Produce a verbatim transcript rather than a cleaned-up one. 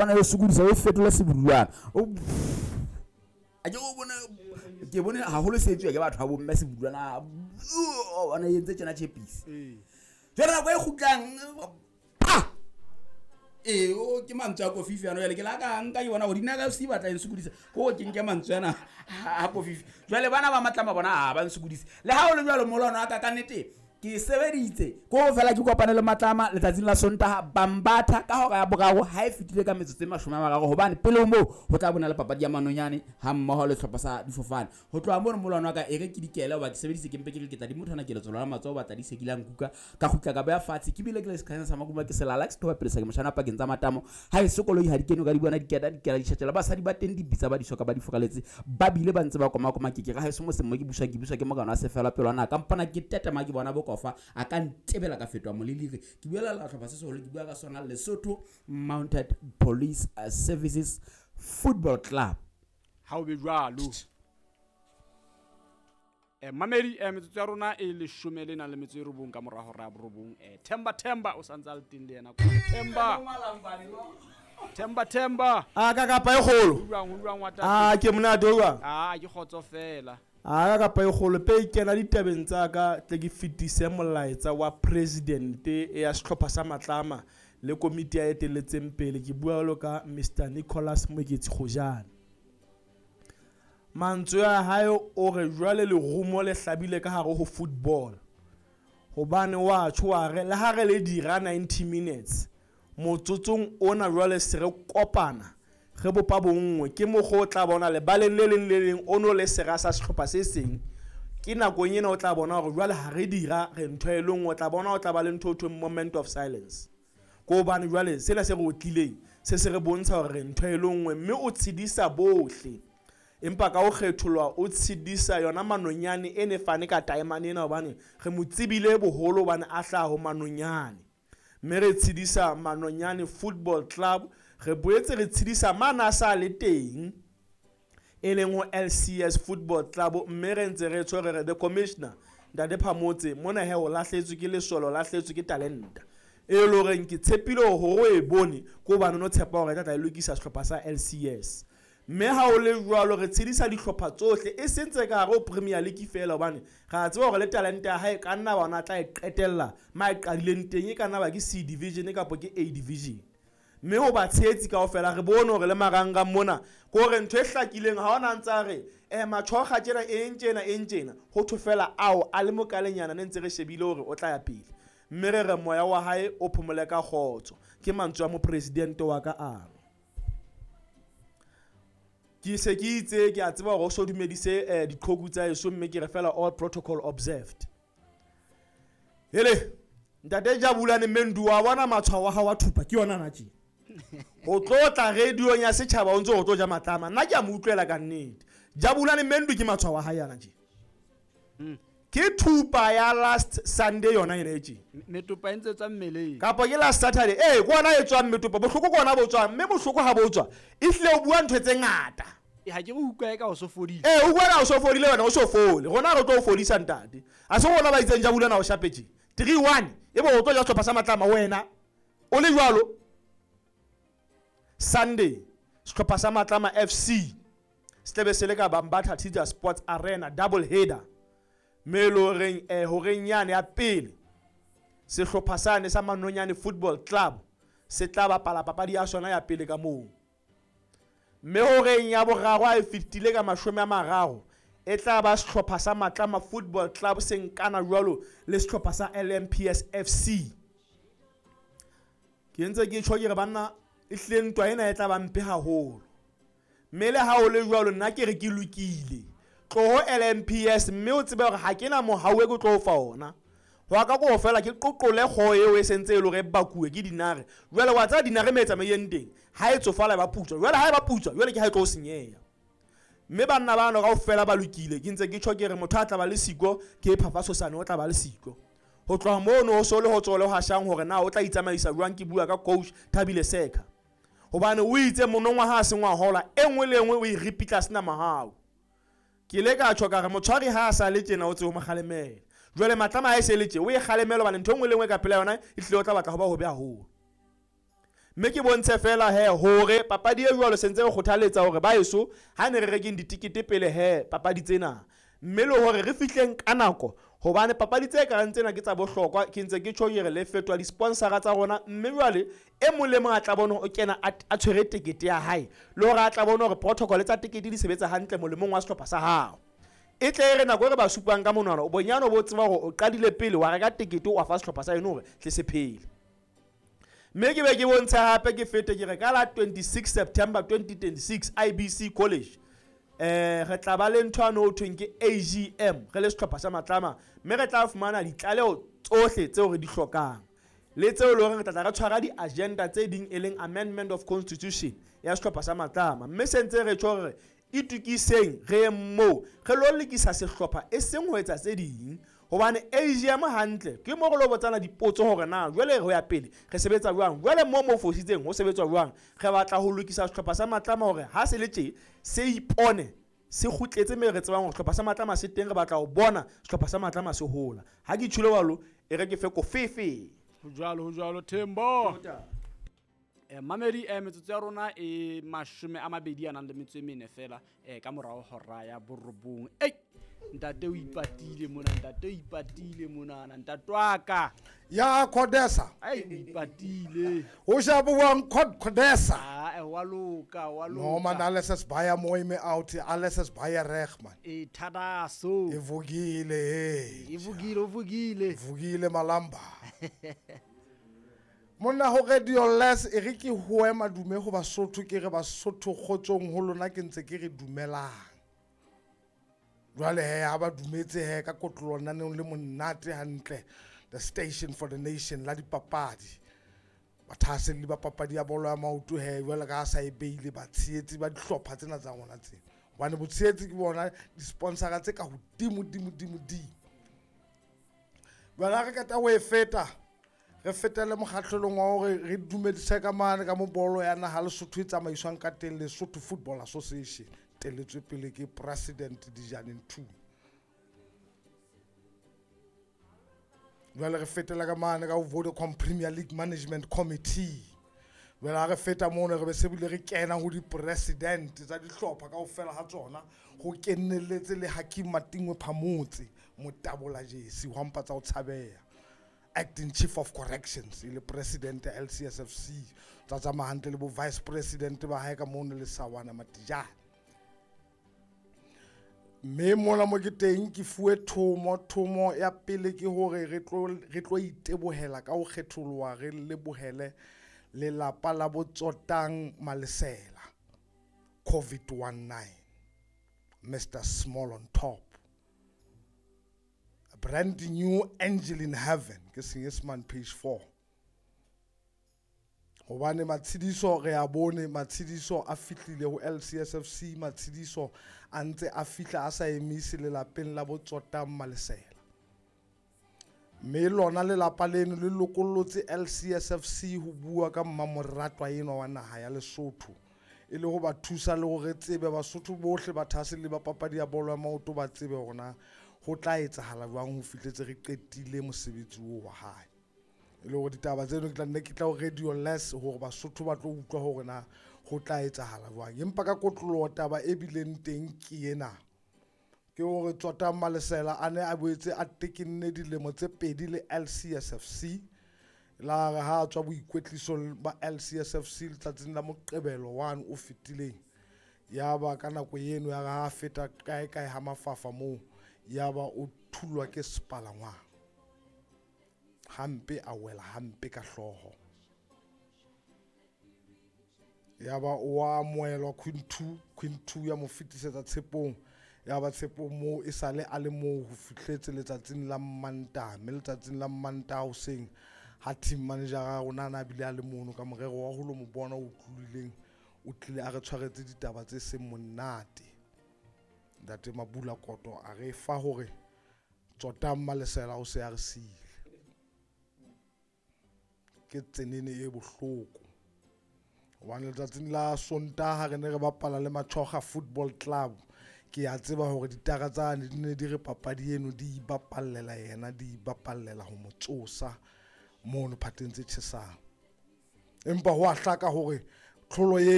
Bona e sokodisa, o fetola sebudulwana. O a ke o bone, ke bone haholo se etsuwa ke batho ba bomme sebudulwana. O bona e entse tjena tjhepisi. Jwale nako e kgutlang, ah! Ee, o ke mantswe a Kofifi ano. Jwale ke la ka nka ke bona hore Dinaka F C batla e nsokodisa, ko ke nke mantswe ana a Kofifi. Jwale bana ba Matlama bona ha ba nsokodise. Le ha o le jwalo, molwano wa ka ka nnete ke sebeditse ko fela ke kopane le Matlama letsatsing la Sontaha Bambatha ka hora ya boraro ha e fetile ka metsotso e mashome a mararo, hobane pele ho moo ho tla bona le papadi ya Manonyane ha mmoho le sehlopha sa difofane. Ho tloha mono molwano wa ka e re ke dikele, hoba ke sebeditse ke mpe ke re ke tla di mothwana ke letsholo la matsoho batla di se ke la nkuka ka kgutla ka beha fatshe. Ke bile ke le sekhanya sa makuma ke selala ke sethoba pele sa ke moshana pakeng tsa matamo. Ha e se koloi ha di kene, o ka di bona diketa dikela ditjhatjela, basadi ba teng di bitsa ba di soka ba di furaletse, ba bile ba ntse ba koma koma. Ke ke ra haeso mo seng mo ke buswa ke buswa ke mokana wa sefela pelwana ka mpona ke tetema ke bona bo kofa a ka ntebela ka fetoha moleliri. Ke buela la hlopha se seholo, ke bua ka sona Lesotho Mounted Police Services Football Club. Ha o be jwalo. Eh, mamedi, eh, metsotso ya rona e leshome le nang le metso e robong ka mora hora ya borobong. Eh, Themba Themba o santse a le teng le yena. Themba. Themba Themba. A ka kapa e kgolo. Ho jwang, ho jwang wa tate? A ke monate ho jwang? A ke kgotso fela. A ka kapa e kgolo pe kena ditabeng tsa ka tle ke fetise molaetsa wa president ya sehlopha sa Matlama le komiti ya etelletseng pele. Ke bua jwalo ka Mister Nicholas Moeketsi Kgojane. Mantswe a hae o re jwale lerumo le hlabile ka hare ho football, hobane wa tjho wa re le ha re le dira ninety minutes motsotsong ona jwale se re kopana re bopa bonngwe. Ke mokgwa o tla bona lebaleng le leng le leng o no le sera sa sehlopha se seng. Ke nakong ena o tla bona hore jwale ha re dira re ntho e le nngwe, o tla bona o tla ba le ntho e thweng moment of silence. Ke hobane jwale sena se re otlileng se se re bontsha hore re ntho e le nngwe, mme o tshedisa bohle. Empa ka ho kgetholwa o tshedisa yona Manonyane e ne fane ka taemane ena, hobane re mo tsebile boholo hobane a hlaha ho Manonyane. Mme re tshedisa Manonyane Football Club, re boetse re tshedisa mane a sa le teng e leng ho L C S Football Club, mme re ntse re tshwere re the commissioner Ntate Phamotse mona he o lahletswe ke lesolo, o lahletswe ke talenta e le horeng ke tshepile hore o e bone ke hobane o no tshepa hore e tla tla e lokisa sehlopha sa L C S. Mme ha o le jwalo re tshedisa dihlopha tsohle e seng tse ka hare ho Premier League feela, hobane re a tseba hore le talente ya hae ka nna bona tla e qetella ma e qadileng teng, e ka nna ba ke C division kapa ke A division. Mme ho ba tshehetsi kaofela re bone hore le marangrang mona ke hore ntho e hlakileng ha ona ntse a re, eh, matjhokga tjena, eng tjena, eng tjena, ho thwe fela ao a le mokalenyana ne ntse re shebile hore o tla ya pele. Mme re re moya wa hae o phomole ka kgotso. Ke mantswe a mopresidente wa ka ano. Ke se ke itse ke a tseba hore o so dumedise, eh, diqhoku tsa heso, mme ke re fela all protocol observed. Hele, ntate Jabulani Mendu wa bona matshwao wa hao wa thupa ke yona na tje. Ho tlo tla radio-ong ya setjhaba o ntso o tlo ja Matlama. Nna ke a mo utlwela ka nnete. Jabulani Mendu ke matshwao wa hae ana tje. Hmm. Ke thupa ya last Sunday yona ena e tje. Metopa e ntse tswa mmeleng. Kapa ke last Saturday. Eh, ke ona e tswang metopa. Bohloko ke ona bo tswang, mme bohloko ha bo tswa. Ehlile o bua ntho tse ngata. Eh, ha ke re utlwa eka o so fodile. Eh, o bua ka o so fodile wena, o so fole. Rona re tlo o fodisa ntate. Ha se rona ba itseng Jabulani o shapetse. three one, ebe o tlo ja sehlopha sa Matlama wena. O le jwalo. Sunday, sehlopha sa Matlama F C se tlabe se le ka Bambatha Teacher Sports Arena double header. Mme e le horeng, eh, horeng yane ya pele, sehlopha sane sa Manonyane Football Club se tla bapala papadi ya sona ya pele ka moo. Mme horeng ya boraro ha e fetile ka mashome a mararo, e tla ba sehlopha sa Matlama Football Club se nkana jwalo le sehlopha sa L M P S F C. Ke ntse ke tjho ke re banna, ehlile ntwa ena e tla ba mpe haholo. Mme le ha o le jwalo nna ke re ke lokile. Tloho L M P S mme o tsebe hore ha ke na mohau e ke tlo o fa ona. Ho ya ka ko fela ke qoqole kgoho eo e sentse e le hore e bakuwe ke dinare. Jwale wa tseba dinare me e tsamaileng teng, ha e tsofala e ba putswa. Jwale ha e ba putswa, jwale ke ha e tlo senyeha. Mme banna bano kaofela ba lokile. Ke ntse ke tjho ke re motho a tla ba le siko ke Phafa Tshosane o tla ba le siko. Ho tloha mono ho so le ho tsole ho hashang hore na o tla itsamaisa jwang, ke bua ka coach Thabile Seka. Hobane o itse monongwa ha a sengwa hola, e nngwe le e nngwe o e ripitla sena mahau. Ke ile ka tjho ka re motshwari ha a sa le tjena o tsebe ho mo kgalemela. Jwale Matlama ha e se le tje, o e kgalemela hobane ntho e nngwe le e nngwe ka pela yona e hlile o tla batla ho ba hobe haholo. Mme ke bontshe fela he hore papadi e jwalo sentse re kgothaletsa hore ba eso ha ne re rekeng ditikete pele he papadi tsena. Mme le hore re fihleng ka nako hobane papadi tse kareng tsena ke tsa bohlokwa ke ntse ke tjho ke re le fetoha di-sponsora tsa rona mme jwale e mong le mong a tla bone o kena a tshwere tekete ya hae le hore a tla bone hore protocol tsa tekete di sebetsa hantle molemong wa sehlopha sa hao. E tle e re nako e re ba supang ka monwana o bonyane o bo tseba hore o qadile pele wa reka tekete wa fa sehlopha sa eno hore tle se phele. Mme ke be ke bontshe hape ke fete ke re ka la twenty-six September twenty twenty-six I B C College eh re tla ba le ntho ano ho thweng ke A G M re le sehlopha sa Matlama mme re tla fumana ditlaleho tsohle tseo re di hlokang le tseo le hore re tla tla re tshwara di-agenda tse ding e leng amendment of constitution ya sehlopha sa Matlama mme se ntse re tjho hore itukiseng re ye moo re lo lekisa sehlopha e seng ho etsa tse ding hobane A G M hantle ke mo re lo botsana dipotso hore na jwale ho ya pele re sebetsa jwang jwale mo mo fositseng ho sebetswa jwang re batla ho lokisa sehlopha sa Matlama hore ha se le tje se ipone se kgutletse mme re tsebang hore sehlopha sa Matlama se teng re batla ho bona sehlopha sa Matlama se hola ha ke tjholo jwalo e re ke fe kofefe ho jwalo ho jwalo Thembo eh mamedi eh metsotso ya rona e mashome a mabedi a nang le metso e mene fela eh ka morao hora ya borobong ei ntate o ipatile mona ntate o ipatile mona ntate wa ka ya Khodesa ai o ipatile o shabuwang Khodesa ah eh wa loka wa loka no man alles is baie mooi me out alles is baie reg man e thadaso e vukile hey e vukile o vukile vukile malamba monna ho radio less e re ke hoe madume ho Basotho ke re Basotho kgotsong ho lona ke ntse ke re dumelang jwale he ha ba dumetse he ka kotlolo naneng le monate hantle the station for the nation la dipapadi bathaselli ba papadi ya bolo ya maoto he jwale ka sa e beile batshehetsi ba dihlopha tsena tsa rona tsena hobane botshehetsi ke bona di-sponsora tse ka hodimo dimo dimo dimo jwale ha re qeta ho e feta re fetele mokgahlelong wa hore re dumedise ka mane ka mo bolo ya naha Lesotho e tsamaiswang ka teng Lesotho Football Association teletswe pele ke President Dijane Ntuli. Jwale re fetela ka mane ka ho Vodacom Premier League Management Committee. Jwale ha re feta mono re be se bile re kena ho di-president tsa dihlopha kaofela ha tsona ho kenelletse le Hakim Matingwe Phamotse motabola jesi wa mpa tsa ho tshabeha acting chief of corrections e le president ya L C S F C tsa tsamaya hantle le bo vice president ba hae ka mono le Sawana Matijane. Mme mona mo ke teng ke fuwe thomo thomo ya pele ke hore re tlo re tlo itebohela ka ho kgetholoha re lebohele lelapa la Botsotang Malesela COVID nineteen Mister Small on top a brand new angel in heaven ke Senyesemane page four hobane matshidiso re a bone matshidiso a fihlile ho L C S F C matshidiso a ntse a fihla a sa emise lelapeng la Botsotang Malesela mme lona lelapa leno le lokollotse L C S F C ho bua ka mmamoratwa enwa wa naha ya Lesotho e le ho ba thusa le hore tsebe Basotho bohle ba thahaselli ba papadi ya bolo ya maoto ba tsebe hore na ho tla etsahala jwang ho fihletse re qetile mosebetsi oo wa hae e le hore ditaba tseno ke tla nne ke tla ho radio less hore Basotho ba tlo utlwa hore na ho tla etsahala jwang empa ka kotloloho taba e bileng teng ke ena ke hore Tsotang Malesela a ne a boetse a tekenne dilemo tse pedi le L C S F C la re ha a tswa boikwetlisong ba L C S F C letsatsing la Moqebelo one o fetileng ya ba ka nako eno ya re ha a feta kae kae ha mafafa moo ya ba o thulwa ke sepalangwang hampe a wela hampe ka hlooho ya ba o amohelwa Queen two Queen two ya mo fetisetsa tshepong ya ba tshepong moo e sale a le moo ho fihletse letsatsing la Mantaha mme letsatsing la Mantaha hoseng ha team manager ya rona a na bile a le mono ka morero wa ho lo mo bona o tlolileng o tlile a re tshwaretse ditaba tse seng monate ntate Mabula Koto a re fa hore Tsotang Malesela o se a re siile ke tsenene e bohloko hobane letsatsing la Sontaha re ne re bapala le Machoga Football Club ke a tseba hore ditara tsane di ne di re papadi eno di ibapallela yena di ibapallela ho mo tsosa mono phateng tse tjhesang Empa ho a hlaka hore tlholo eno